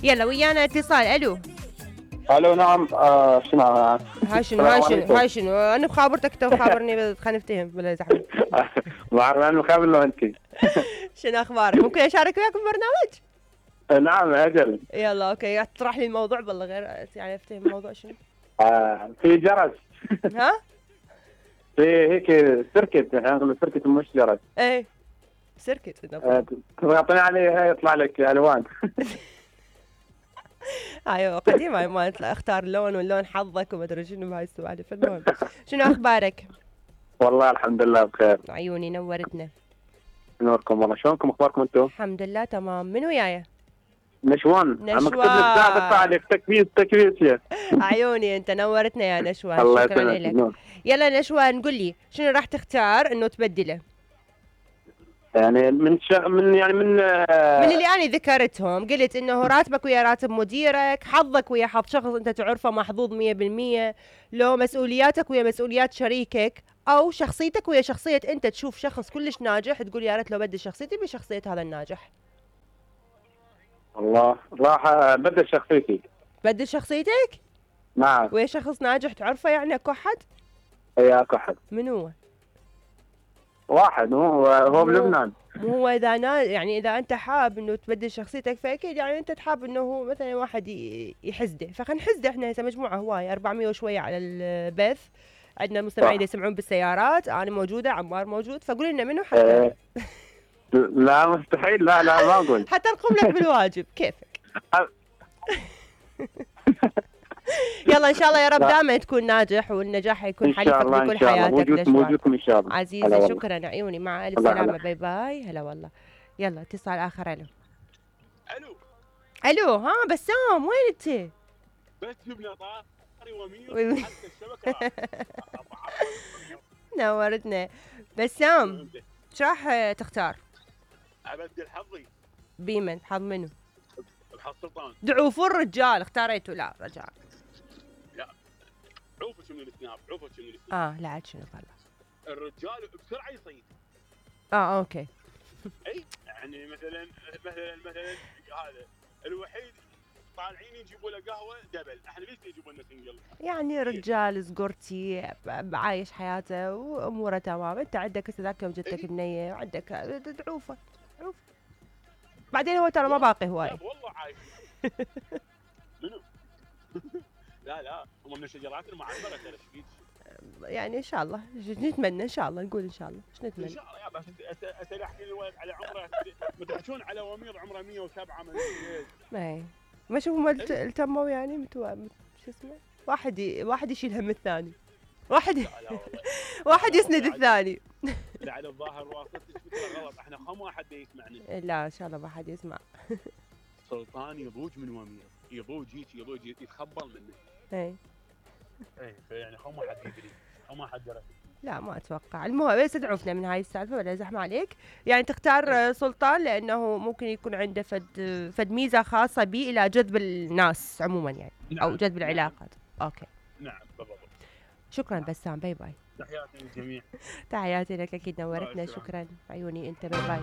يلا ويانا اتصال. الو الو نعم. شنو هاي شنو هاي شنو انا بخابرتك تو خابرني خلينا نفتهم بلا زحمه. ما اعرف انا مخابر لو انت. شنو اخبارك؟ ممكن اشارك وياك بالبرنامج؟ نعم اجل. يلا اوكي اطرح لي الموضوع بالله غير يعني افتهم الموضوع شنو. في جرس. ها في هيك سيركت، احنا نقول سيركت مش جرس. ايه سيركت تعطيني عليه هاي يطلع لك الوان. ايوه قديمه هاي مالت اختار لون واللون حظك وما ادري شنو بهاي السوالف. المهم شنو اخبارك؟ والله الحمد لله بخير. عيوني نورتنا. نوركم والله. شلونكم اخباركم انتم؟ الحمد لله تمام. من وياي؟ نشوان. عم اكتب لك ساعه بس عليك تكبيس يا عيوني انت نورتنا يا نشوان. الله شكرا يسلمك. لك. يلا نشوان قل لي شنو راح تختار انه تبدله؟ يعني من اللي انا ذكرتهم. قلت انه راتبك ويا راتب مديرك، حظك ويا حظ شخص انت تعرفه محظوظ 100%، لو مسؤولياتك ويا مسؤوليات شريكك، او شخصيتك ويا شخصيه انت تشوف شخص كلش ناجح تقول يا ريت لو بدل شخصيتي بشخصيه هذا الناجح. والله راح ابدل شخصيتي. بدل شخصيتك؟ نعم. ويا شخص ناجح تعرفه يعني اكو احد؟ اي اكو احد. من هو؟ واحد هو بلبنان. مو هو اذا يعني اذا انت حاب انه تبدل شخصيتك فاكيد يعني انت تحاب انه هو مثلا واحد يحسده، فخلينا نحسده احنا هسه مجموعه هوايه 400 وشويه على البث، عندنا المستمعين يسمعون بالسيارات، انا موجوده، عمار موجود، فقول لنا منو حتى لا مستحيل. لا ما اقول. حتى نقوم لك بالواجب كيفك. يلا ان شاء الله يا رب دائما تكون ناجح والنجاح يكون حليفك بكل حياتك. موجودكم ان شاء الله عزيزي. شكرا عيوني. مع الف سلامه. باي باي. هلا والله. يلا اتصال اخر. الو ها بسام وين انت؟ بس جبنا طاري ومير حتى الشبكه. نورتنا بسام. ايش راح تختار؟ ابدل حظي. بيمن حظ منو؟ بحظ سلطان. ضعوف الرجال اختاريته. لا رجال. لا عوفه شنو السناب. عوفه شنو السناب. لا عاد شنو طلع الرجال بسرعه يصيد. اوكي. اي يعني مثلا هذا الوحيد طالعين يجيبوا له قهوه دبل، احنا ليش يجيبوا لنا سنجل؟ يعني رجال سقرتي عايش حياته واموره تمام. انت عندك هسه ذاك يوم جتك بنيه وعندك عوفه. بعدين هو ترى ما باقي هواي. والله عايش. منو؟ لا هم من الشجرات المعمره ترى. ايش يعني ان شاء الله نتمنى ان شاء الله نقول ان شاء الله. ايش نتمنى؟ ان شاء الله يا بس اتلحقين الولد على عمره متحشون على ومير عمره 107 من اي ما شوفوا التموا يعني شو اسمه واحد يشيل هم الثاني. واحد يسند الثاني. لا على الظاهر واسطتك فكره غلط. احنا خم واحد يسمعني. لا ان شاء الله ما حد يسمع. سلطان يضوج من ومير. يضوج يتخبل منه. اي فيعني خم واحد يدري. خم واحد درى. لا ما اتوقع. المهم بس تعرفنا من هاي السالفه ولا زحمه عليك. يعني تختار سلطان لانه ممكن يكون عنده فد ميزه خاصه به الى جذب الناس عموما يعني. نعم. او جذب العلاقات. اوكي نعم بالضبط. شكرا بسام. باي باي. تحياتي للجميع. تحياتي لك اكيد نورتنا. شكرا عيوني انت. باي باي.